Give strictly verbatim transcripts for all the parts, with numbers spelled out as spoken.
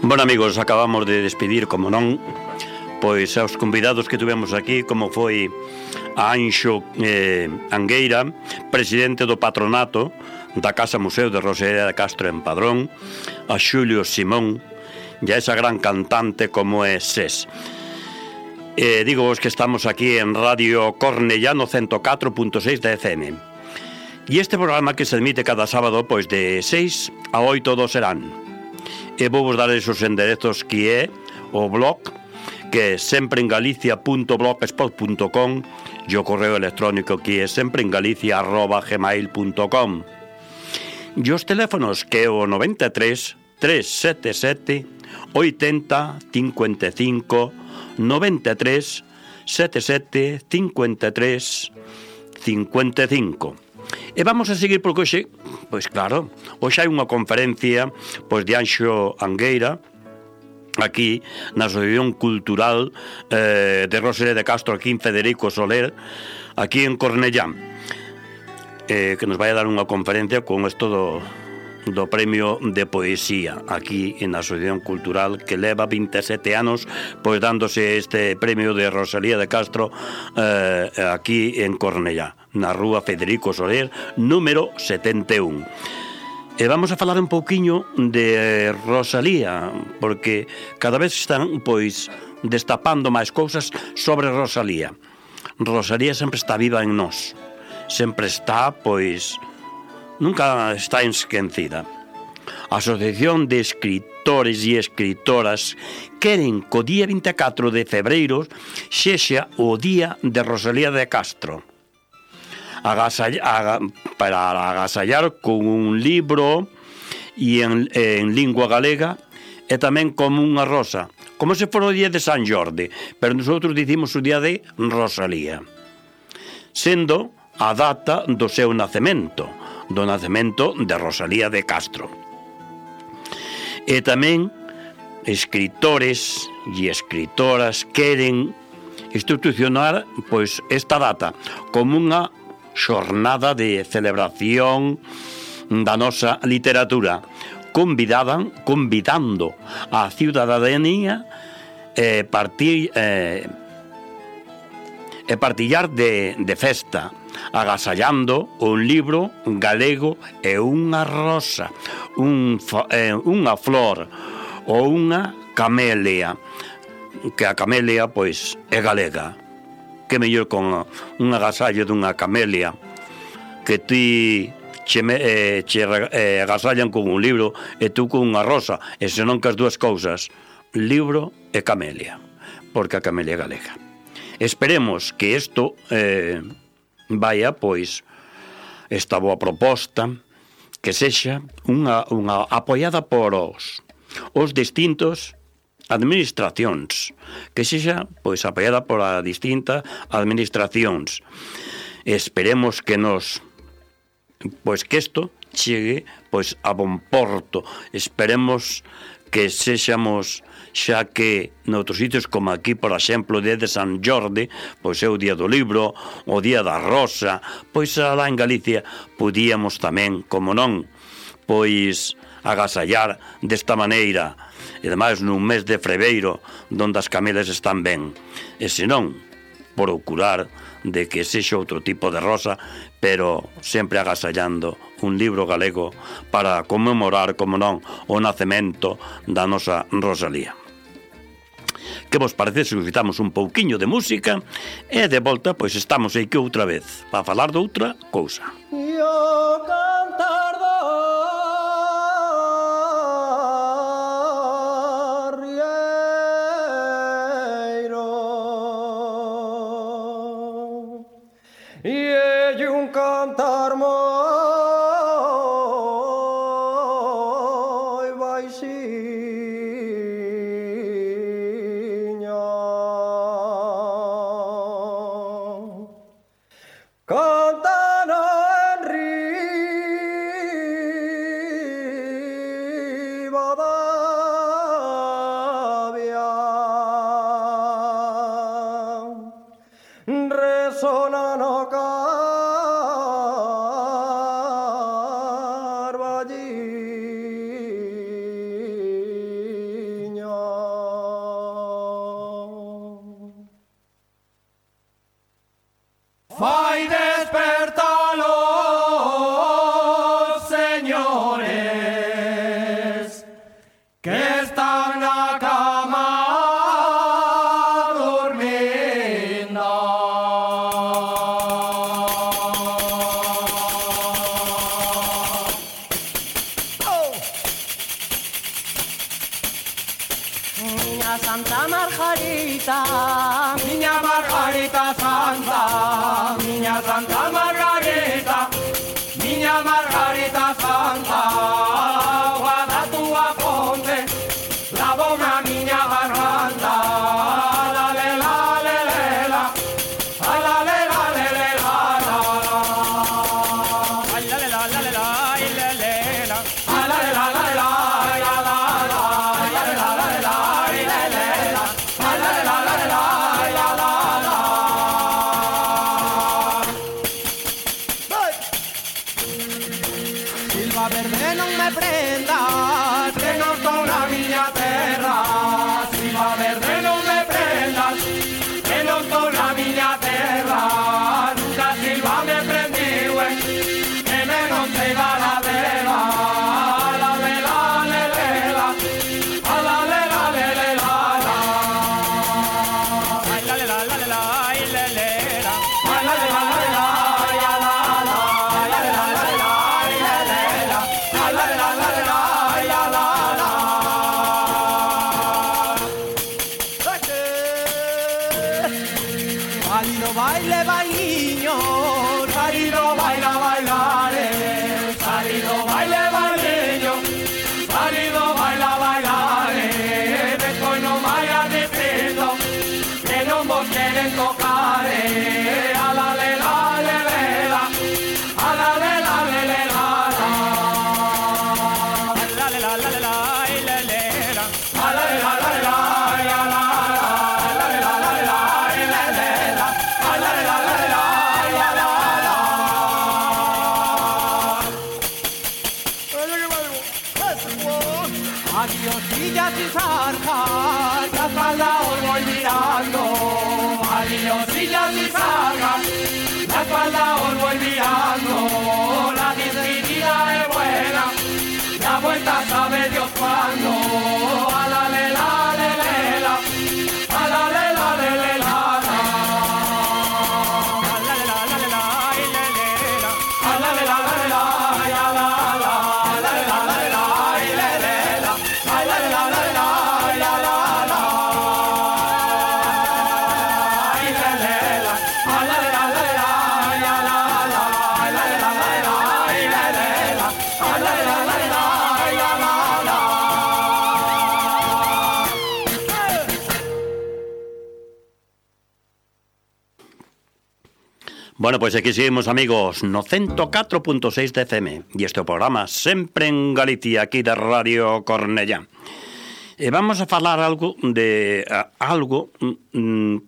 Bueno, amigos, acabamos de despedir, como non, pois aos convidados que tuvemos aquí, como foi a Anxo eh, Angueira, presidente do patronato da Casa Museo de Rosalía de Castro en Padrón, a Xulio Simón e a esa gran cantante como é Sés. Eh, digo vos que estamos aquí en Radio Cornellano ciento catro punto seis da F M. E este programa que se emite cada sábado pois de seis a oito do serán. E vou vos dar esos enderezos que é o blog, que é sempreengalicia punto blogspot punto com, e o correo electrónico que é sempreengalicia arroba gmail punto com. E os teléfonos que é o noventa e tres, trescentos setenta e sete, oitenta, cincuenta e cinco, noventa e tres, setenta e sete, cincuenta e tres, cincuenta e cinco. E vamos a seguir porque hoxe, pois claro, hoxe hai unha conferencia pois de Anxo Angueira aquí na Asociación Cultural eh, de Rosalía de Castro, aquí en Federico Soler, aquí en Cornellán, eh, que nos vai a dar unha conferencia con isto do, do premio de poesía aquí en a Asociación Cultural, que leva vinte e sete anos pois dándose este premio de Rosalía de Castro eh, aquí en Cornellá, na rúa Federico Soler, número setenta e un. E vamos a falar un pouquiño de Rosalía, porque cada vez están, pois, destapando máis cousas sobre Rosalía. Rosalía sempre está viva en nós. Sempre está, pois, nunca está esquecida. A Asociación de Escritores e Escritoras queren que o día vinte e catro de febreiro sexa o día de Rosalía de Castro. Agasall, para agasallar con un libro e en, en lingua galega e tamén como unha rosa, como se fora o día de San Jordi, pero nosotros dicimos o día de Rosalía, sendo a data do seu nacemento, do nacemento de Rosalía de Castro. E tamén escritores e escritoras queren institucionar pois esta data como unha xornada de celebración da nosa literatura, convidaban, convidando a ciudadanía eh, partir, eh, e partillar de, de festa, agasallando un libro galego e unha rosa, un, eh, unha flor ou unha camelia, que a camelia pois é galega. Que mellor con un agasallo dunha camelia que ti che, eh, che eh, agasallan con un libro e tú con unha rosa, e senón que as dúas cousas, libro e camelia, porque a camelia é galega. Esperemos que isto eh, vaya, pois, esta boa proposta, que sexa unha, unha apoiada por os, os distintos administracións, que sexa pois apoiada por a distintas administracións. Esperemos que nos pois que isto chegue pois a bon porto. Esperemos que sexamos, xa que noutros sitios como aquí, por exemplo, o día de San Jordi, pois é o día do libro, o día da rosa, pois alá en Galicia podíamos tamén, como non, pois agasallar desta maneira, e ademais nun mes de febreiro donde as camelas están ben, e senón procurar de que sexa outro tipo de rosa, pero sempre agasallando un libro galego para conmemorar, como non, o nacemento da nosa Rosalía. Que vos parece se escutamos un pouquiño de música e de volta pois estamos aquí outra vez para falar de outra cousa. Yo cantar do cantar moi baixiño, cantan en riba da vía, resonan o vai despertalos, señores, que están na cama durmiendo. Oh. Niña Santa Margarita, niña Margarita Santa, niña Santa Margarita, niña Margarita Santa, guarda tu aponte, la bona niña garganta, la le la le le la, a la le la le le la la, a la le la la le la y le le la, a la le la la le la ya la la, a la le la la le la y le le la, a la le la la le la ya la la. Silva verde non me prendas, que non son na miña terra. Silva verde non me prendas, que non son na miña terra. Nunca Silva me prendiu, eh, que me non sei dar a vela. A la le la le le la, a la le la le le la la. A la le la la le la y le le la, a la le la la le la ya la la, a la le la la le la y le le la, a la le la la le la ya la la. Salido baile bailiño, salido baila bailare, salido baile bailiño, salido baila bailare, despois non vaya dicindo que non vos queren tocar, eh, a la le la le le la, a la le la le le la la, a la le la la le la y le le la, a la le la la le la ya la la, a la le la la le la y le le la, a la le la la le la ya la la. Adiosillas y zarjas, la espalda os voy mirando. Adiosillas y zarjas, la espalda os voy mirando. La despedida es buena, la vuelta sabe Dios cuándo. A la le la le le la, a la le la le le la la, a la le la la le la y le le la, a la le la la le la ya la la, a la le la la le la y le le la, a la le la la le la ya la la, y le le la, a la le la la le la ya la la, a la le la la le la y le le la, a la le la la le la ya la la. Bueno, pois aquí seguimos, amigos, no ciento catro punto seis de F M. E este é o programa Sempre en Galicia, aquí de Radio Cornellá. E vamos a falar algo de a, algo mm,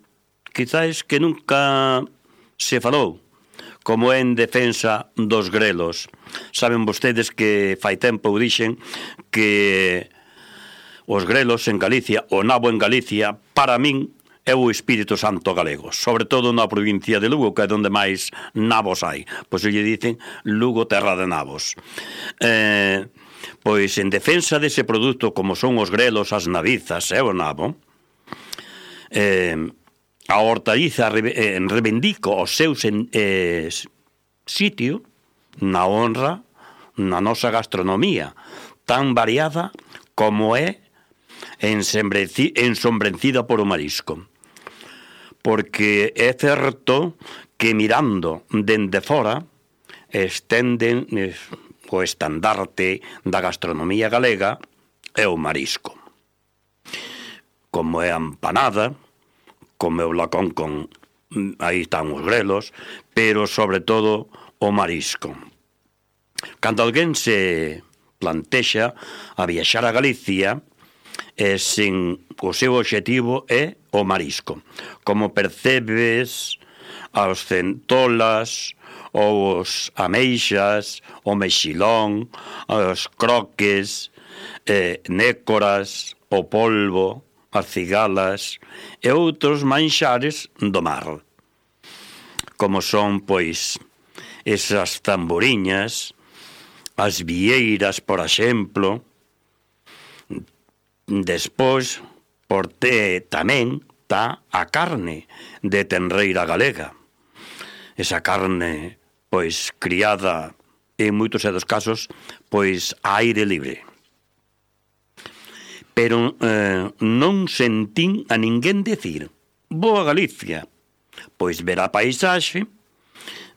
quizás que nunca se falou, como en defensa dos grelos. Saben vostedes que fai tempo dixen que os grelos en Galicia, o nabo en Galicia, para min é o Espírito Santo galego, sobre todo na provincia de Lugo, que é onde máis nabos hai. Pois lle dicen Lugo, terra de nabos. Eh, pois en defensa dese produto, como son os grelos, as nabizas e o nabo, eh, a hortaliza eh, reivindico o seu sen, eh, sitio na honra na nosa gastronomía, tan variada como é ensombrecida por o marisco. Porque é certo que mirando dende fora estenden o estandarte da gastronomía galega é o marisco. Como é a empanada, como é o lacón con... aí están os grelos, pero sobre todo o marisco. Cando alguén se plantexa a viaxar a Galicia, e sin o seu obxectivo é o marisco. Como percebes as centolas, os ameixas, o mexilón, os croques, eh, nécoras, o polvo, as cigalas e outros manxares do mar. como son, pois, esas tamboriñas, as vieiras, por exemplo. Despois, por te, tamén está a carne de tenreira galega. Esa carne, pois, criada en moitos dos casos, pois, a aire libre. Pero eh, non sentín a ninguén decir: vou a Galicia, pois ver a paisaxe,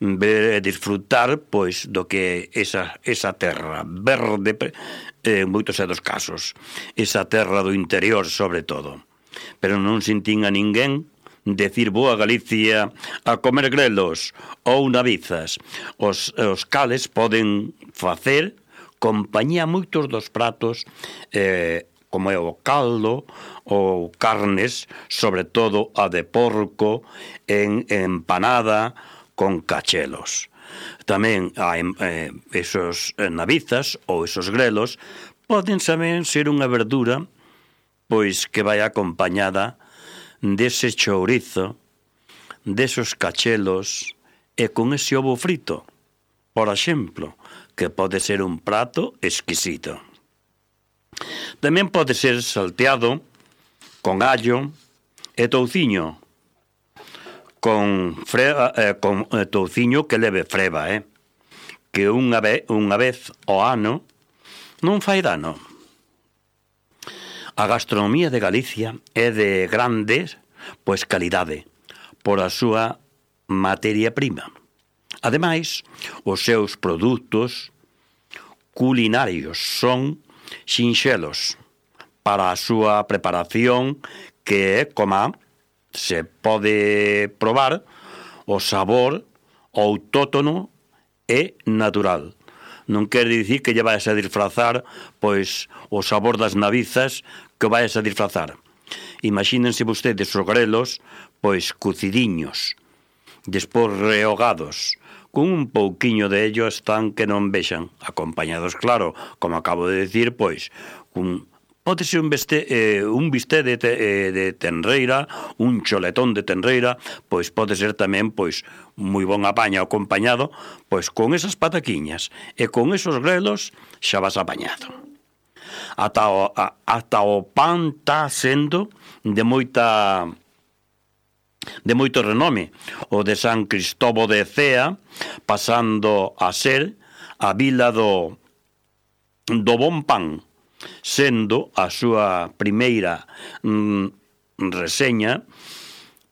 ver e disfrutar, pois, do que esa, esa terra verde, en moitos dos casos, esa terra do interior, sobre todo. Pero non sentín a ninguén decir: vou a Galicia a comer grelos ou navizas. Os, os cales poden facer compañía moitos dos pratos, eh, como é o caldo ou carnes, sobre todo a de porco, en empanada con cachelos. Tamén a, eh, esos navizas ou esos grelos poden tamén ser unha verdura, pois, que vai acompañada dese chourizo, desos cachelos e con ese ovo frito, por exemplo, que pode ser un prato exquisito. Tamén pode ser salteado con allo e touciño, con, freva, eh, con eh, touciño que leve freva, eh? que unha, ve, unha vez ao ano non fai dano. A gastronomía de Galicia é de grande, pois, calidade por a súa materia prima. Ademais, os seus produtos culinarios son sinxelos para a súa preparación, que é como se pode probar o sabor autóctono e natural. Non quere dicir que lle vais a disfrazar, pois, o sabor das navizas que vais a disfrazar. Imagínense vostedes os grelos, pois, cucidiños, despois rehogados, con un pouquiño de ellos tan que non vexan, acompañados, claro, como acabo de decir, pois, un, pode ser un, beste, eh, un bisté de, te, eh, de tenreira, un choletón de tenreira, pois pode ser tamén, pois, moi bon apaño acompañado, pois, con esas pataquiñas, e con esos grelos xa vas apañado. Ata o, a, ata o pan está sendo de moita... de moito renome, o de San Cristóbal de Cea, pasando a ser a vila do do bon pan, sendo a súa primeira mm, reseña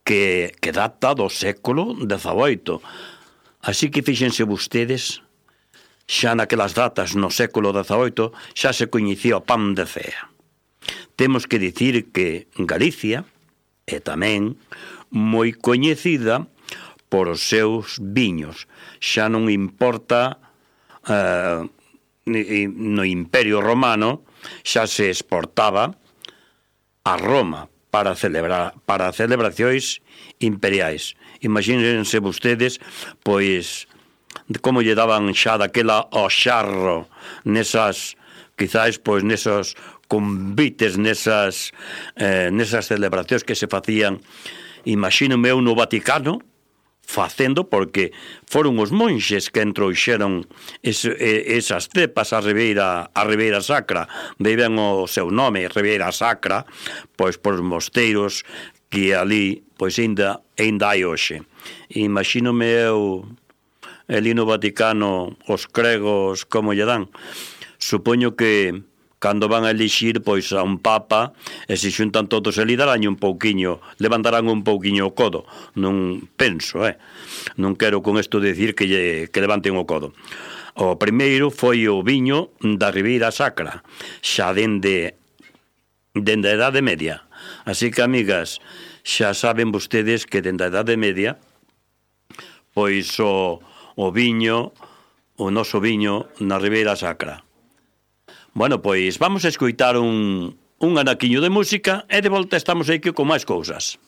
que, que data do século dezaoito. Así que fíxense vostedes, xa naquelas datas no século dezaoito xa se coñecía o pan de Cea. Temos que dicir que Galicia é tamén moi coñecida por os seus viños. Xa non importa, eh, no Imperio Romano xa se exportaba a Roma para celebrar para celebracións imperiais. Imagínense vostedes, pois, como lle daban xa daquela ao xarro nesas, quizás, pois, nesos convites, nesas eh, nesas celebracións que se facían. Imagínome eu no Vaticano facendo, porque foron os monxes que entrouxeron es, esas cepas a Ribeira, a Ribeira Sacra, beben o seu nome, Ribeira Sacra, pois por mosteiros que ali, pois ainda, ainda hai hoxe. Imagínome eu ali no Vaticano os cregos como lle dan. Supoño que cando van a elixir, pois, a un papa, e se xuntan todos ali, darán un pouquiño, levantarán un pouquiño o codo. Non penso, eh? Non quero con isto decir que, lle, que levanten o codo. O primeiro foi o viño da Ribeira Sacra, xa dende, dende a Edade Media. Así que, amigas, xa saben vostedes que dende a Edade Media, pois o, o viño, o noso viño na Ribeira Sacra. Bueno, pois vamos a escoitar un, un anaquiño de música e de volta estamos aquí con máis cousas.